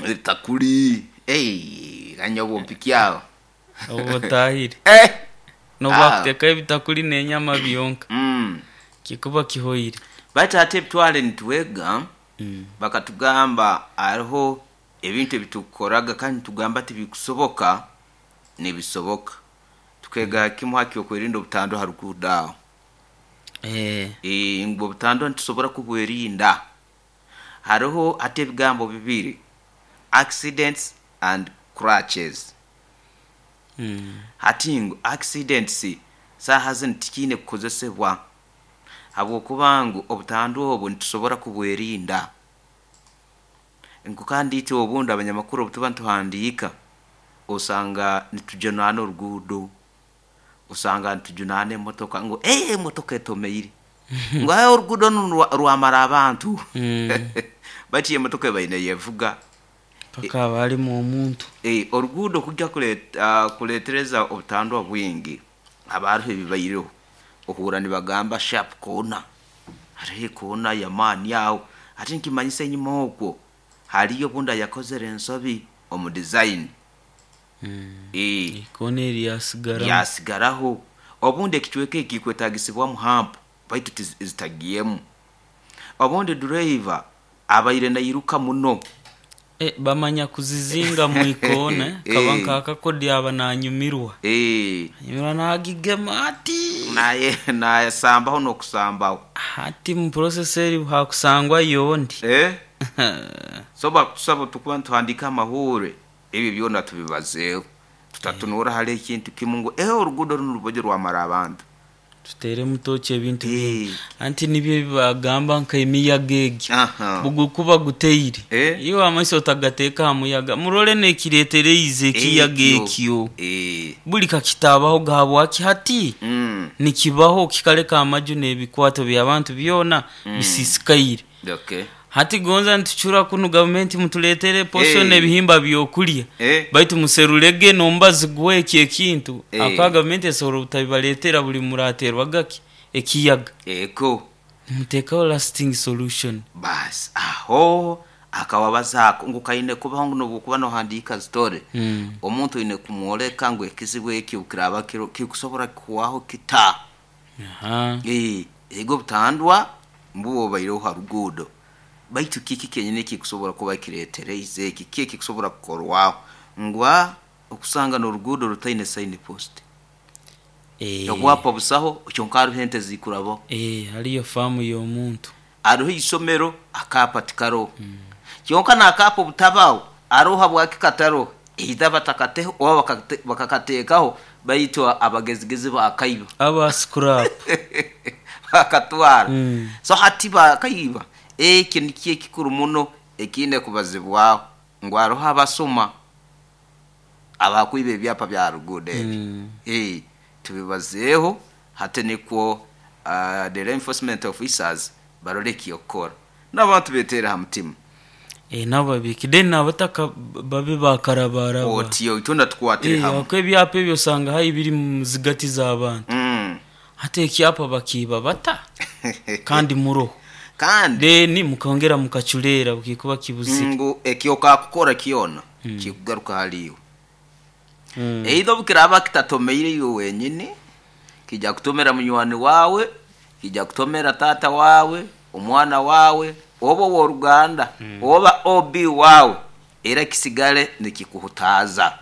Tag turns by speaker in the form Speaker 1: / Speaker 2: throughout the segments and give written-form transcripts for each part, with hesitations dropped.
Speaker 1: Ebitakuli. Hey, kanya obumpikyaho.
Speaker 2: Obu otahire.
Speaker 1: Eh!
Speaker 2: N'obu
Speaker 1: Ah.
Speaker 2: bakuteekaho ebitakuli n'enyama byonka, kikuba kihoire.
Speaker 1: Baitu hati ebitwale nitwega, bakatugamba hariho ebintu ebitukoraga kandi nitugamba tibikusoboka, nibisoboka. Tukega kimu ha ky'okwerinda obutandwa ha ruguudo aho.
Speaker 2: Eh.
Speaker 1: Ngu obutandwa nitusobora kubwerinda. Haroho hati ebigambo bibiri, accidents and crutches. Hati ngu accidents saaha zinu tikiine kukozesebwa habwokuba ngu obutandwa obu nitusobora kubwerinda. Ngu kandi itwe obundi abanyamakuru obu tuba nituhandiika, osanga nitujunaana oruguudo, osanga nitujunaana emotoka ngu ee emotoka etomeire, ngu ee oruguudo runu rwamara abantu. Baitu yo emotoka ebaire neyevuga.
Speaker 2: Paka haba harimu omuntu.
Speaker 1: Oruguudo kujya kuleetereza obutandwa bwingi, haba haroho ebibaireho. Ohurra nibagamba sharp corner, hariho ekoona y'amaani aho, hati nikimanyisa enyima okwo hariyo obundi ayakozere ensobi omu design.
Speaker 2: Ekoona eri yasigaramu.
Speaker 1: Yasigaraho. Obundi ekicweka eki kikwetaagisibwamu hump baitu zitagiemu. Obundi driver abaire nairuka muno.
Speaker 2: Bamanya kuzizinga mu ikoona, kaba nk'akakodyo aba nanyumirwa. Anyumirwa nagigema ati.
Speaker 1: Naye nasambaho n'okusambaho.
Speaker 2: Hati mu process eri hakusangwayo ondi.
Speaker 1: So bakutusaba tukuba nituhandiika amahuure, ebyo byona tubibazeeho. Tutatunuura hali ekintu kimu ngu ee oruguudo runu rubojo rwamara abantu.
Speaker 2: Tuteeremu tooki ebintu bingi. Anti nibyo ebi bagamba nk'emiyaga egi, obu gukuba guteire, iwe amaiso otagateeka aha muyaga, murole n'ekireetereize ekiyaga ekyo. Buli kakitaabahoga habwaki hati nikibaho kikaleka amaju n'ebikwato by'abantu byona bisiisikaire. Hati gonza nitucura kunu gavumenti mutuleetere posho n'ebihimba by'okulya, baitu muserurege n'omubazi gw'ekyo ekintu, ahakuba gavumenti esobola obutabibaleetera buli murateerwaga ki ekiyaga.
Speaker 1: Ego.
Speaker 2: Nimuteekaho lasting solution.
Speaker 1: Baasi aho akawabazaako ngu kaine kubaho ngu n'obu okuba nohandiika story, omuntu oine kumwoleka ngu ekizibu eki obu kiraaba kiroho kikusobora kuhwaho kita. Ego obutandwa mbubo bubaireho ha ruguudo, baitu kiki kyenyini ekikusobora kuba kireetereize eki? Kiki ekikusobora kukorwaho? Ngu okusanga n'oruguudo rutaine sign post. Obwapa busaho kyonka haroho ente zikurabaho.
Speaker 2: Hariyo faamu y'omuntu.
Speaker 1: Haroho isomero akaapa tikaroho. Kyonka n'akaapa obutabaho, haroho habwaki kataroho, either batakateho oba bakakateekaho baitu abagezigezi baakaiba.
Speaker 2: Aba scrap.
Speaker 1: Bakatwara. So hati bakaiba, ekyo nikyo ekikuru muno ekiine kubazibwaho ngu haroho abasuma abakwiba ebyapa bya ha ruguudo ebi. Tubibazeeho hati nikwo the law enforcement officers barole eky'okukora. N'abantu beeteere ha mutima.
Speaker 2: Nabo babiike then n'abataka babe bakarabaraba.
Speaker 1: Otyo itwena tukwatire hamu.
Speaker 2: Ahakuba ebyapa ebyo osanga haihi biri mu zigati z'abantu. Hati ekyapa bakiiba bata kandi muroho?
Speaker 1: Kandi
Speaker 2: Then mukongera mukaculeera bukikuba kibuzire.
Speaker 1: Ngu eki okakukora kyona kikugaruka hali iwe. Either obu kiraaba kitatomeire iwe wenyini, kija kutomera munywani waawe, kija kutomera taata waawe, omwana waawe, oba ow'oruganda, oba OB waawe, era kisigale nikikuhutaaza.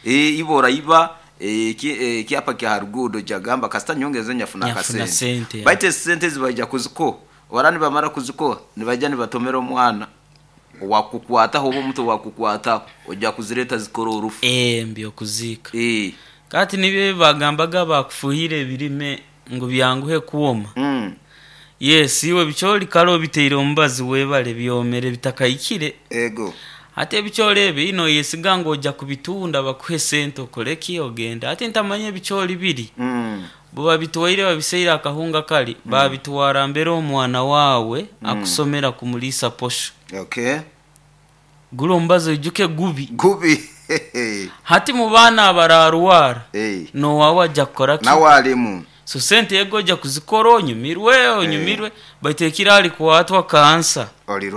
Speaker 1: Iwe oraiba ekyapa kya ha ruguudo oija kugamba kasita nyongeze nyafuna
Speaker 2: Nyafuna
Speaker 1: akasente.
Speaker 2: sente.
Speaker 1: Baitu ezi sente ezi baija kuzikuha, baraba nibamara kuzikuha, nibaija nibatomera omwana owakukukwataho oba omuntu owakukukwataho, oija kuzireeta zikore orufu.
Speaker 2: Eby'okuziika. Kati nibyo ebi bagambaga abakufuhiire ebirime ngu byanguhe kwoma. Yes, iwe ebicoori kale obiteire omubazi webale byomere bitakahikire.
Speaker 1: Ego.
Speaker 2: Hati ebicoori ebi noyesiga ngu oja kubitunda bakuhe sente okore ki ogende. Hati ntamanya ebicoori biri bubabitwaire babiseire akahunga kari babitwara mbere omwana waawe akusomera kumuriisa posho.
Speaker 1: Okay.
Speaker 2: Guri omubazi oijuke gubi.
Speaker 1: Gubi.
Speaker 2: Hati mu baana abararwara n'owaawe aja kukora ki?
Speaker 1: Nawe arimu.
Speaker 2: So sente ego oja kuzikora onyumirwe onyumirwe baitu ekiro arikwatwa kansa.
Speaker 1: Orirora.